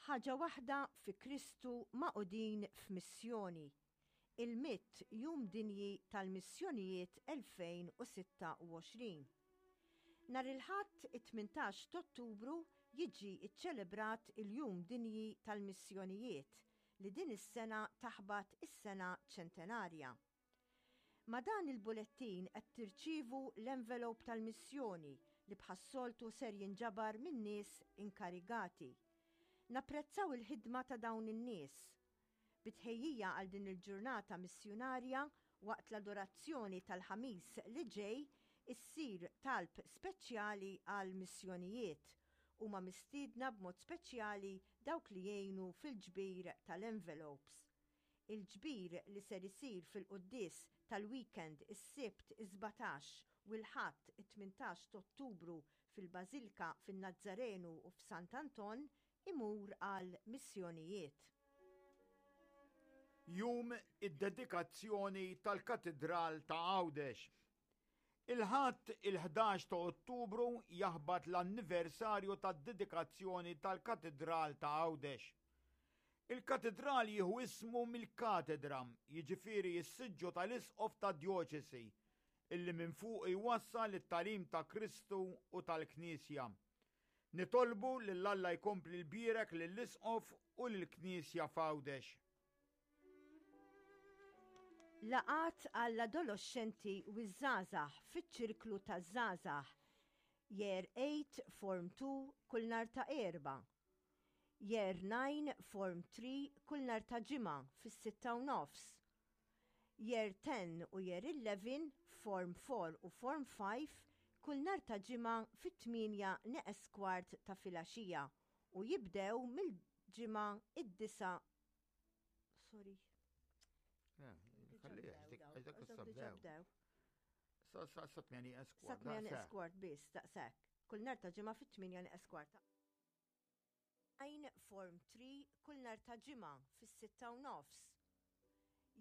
Ħaġa waħda fi Kristu magħqudin f'missjoni. Il-Mitt Jum Dinji tal-Missjonijiet 2026. Nhar il-Ħadd it-18 t'Ottubru jiġi ċċelebrat il-Jum Dinji tal-Missjonijiet li din is-sena taħbat is-sena ċentenarja. Ma' dan il-bulettin qed tirċievu l-envelope tal-missjoni li bħas-soltu ser jinġabar minn nies inkarigati. Napprezzaw il-ħidma ta' dawn in-nies. Bi tħejjija għal din il-ġurnata missjunarja, waqt l-adorazzjoni tal-Ħamis li ġej issir talb speċjali għall-missjonijiet. Huma mistiedna b'mod speċjali dawk li jgħinu fil-ġbir tal-envelopes. Il-ġbir li ser isir fil-quddies tal-weekend is-Sibt is-17 u l-Ħadd it-18 t'Ottubru fil-Bażilka fin-Nazzarenu u f'Sant Anton imur għal missjonijiet. Jum id-dedikazzjoni tal-Katidral ta' Għawdex. Il-Ħadd il-11 ta' Ottubru jaħbat l-anniversarju tad-dedikazzjoni tal-Katidral ta' Għawdex. Il-katidral jieħu ismu mill-katedra, jiġifieri s-siġġu tal-isqof tad-djoċesi, illi minn fuqu jwassal it-tagħlim ta' Kristu u tal-Knisja. Nitolbu lil Alla jkompli jbierek lill-Isqof u lill-Knisja f'Għawdex. Laqgħat għall-adoloxxenti u ż-żgħażagħ fiċ-Ċirklu taż-Żgħażagħ, Year 8 Form 2 kull nhar ta' Erbgħa, Year 9 Form 3 kull nhar ta' Ġimgħa fis-sitta u nofs, Year 10 u Year 11 Form 4 u Form 5 kull nhar ta' Ġimgħa fit-tmienja neqes kwart ta' filgħaxija u jibdew mill-Ġimgħa id-disgħa Sorry. Sa tmieni eskwart. Sa tmieni eskwart biss, daqshekk. Kull nhar ta' ġimgħa fit-tmienja eskwart. Għajn Form 3 kull nhar ta' ġimgħa fis-sitta u nofs.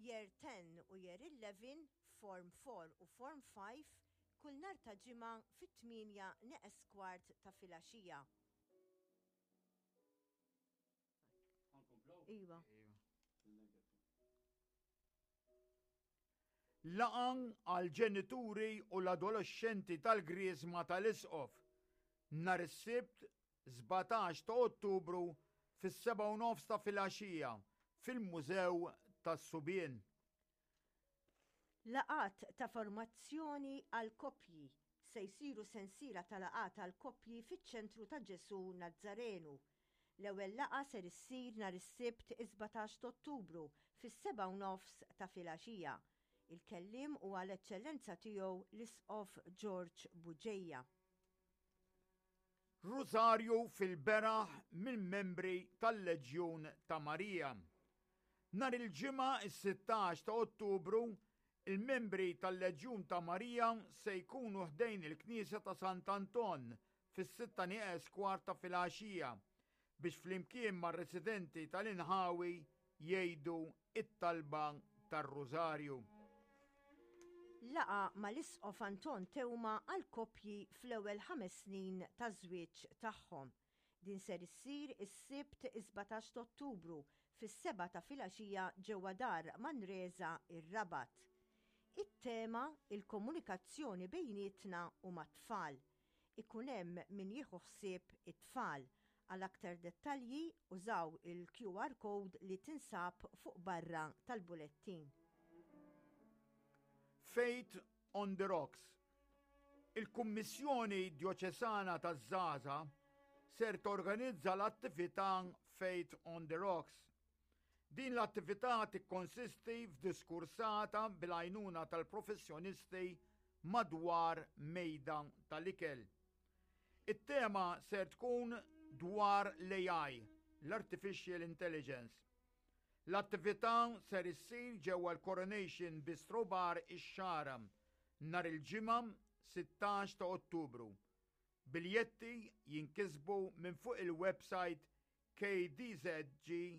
Year 10 u Year 11, Form 4 u Form 5 kull nhar ta' ġimgħa fit-tmienja neqes kwart ta' filgħaxija. Iva. Laqgħa għal ġenituri u l-adolescenti tal-Griżma tal-Isqof nhar is-Sibt 17 ta' Ottubru fis-7:30 ta' filgħaxija fil-Mużew tas-Subien. Laqgħat ta' formazzjoni għall-koppji Se jsiru sensiela ta' laqgħat għall-koppji fiċ-Ċentru ta' Ġesù Nazzarenu. L-ewwel laqgħa ser issir nhar is-Sibt is-17 t'Ottubru fis-sebgħa u nofs ta' filgħaxija. Il-kelliem huwa l-Eċċellenza Tiegħu l-Isqof George Bugeja. Rużarju fil-beraħ mill-membri tal-Leġjun ta' Marija. Nhar il-Ġimgħa s-16 ta' Ottubru, il-membri tal-Leġjun ta' Marija se jkunu ħdejn il-Knisja ta' Sant'Anton fis-sitta nieqes kwart ta' filgħaxija biex flimkien mar-residenti tal-inħawi jgħidu t-talba tar-Rużarju. Laqgħa mal-Isqof Anton Teuma għall-koppji fl-ewwel ħames snin taż-żwieġ tagħhom. Din ser issir is-Sibt is-17 t'Ottubru fis-sebgħa ta' filgħaxija ġewwa Dar Manresa ir-Rabat. It-tema il-komunikazzjoni bejnietna u mat-tfal. Ikun hemm min jieħu ħsieb it-tfal. Għal aktar dettalji użaw il-QR code li tinsab fuq barra tal-bulettin. Faith on the Rocks. Il-Kummissjoni Djoċesana taż-Żgħażagħ ser torganizza l-attività Faith on the Rocks. Din l-attività tikkonsisti f'diskursata bil-għajnuna tal-professjonisti madwar mejda tal-ikel. It-tema ser tkun dwar l-AI, l-Artificial Intelligence. L-attività ser issir ġewwa l-Coronation Bistro Bar ix-Xagħra nhar il-Ġimgħa 16 ta' Ottubru. Biljetti jinkisbu minn fuq il-website kdzg.mt.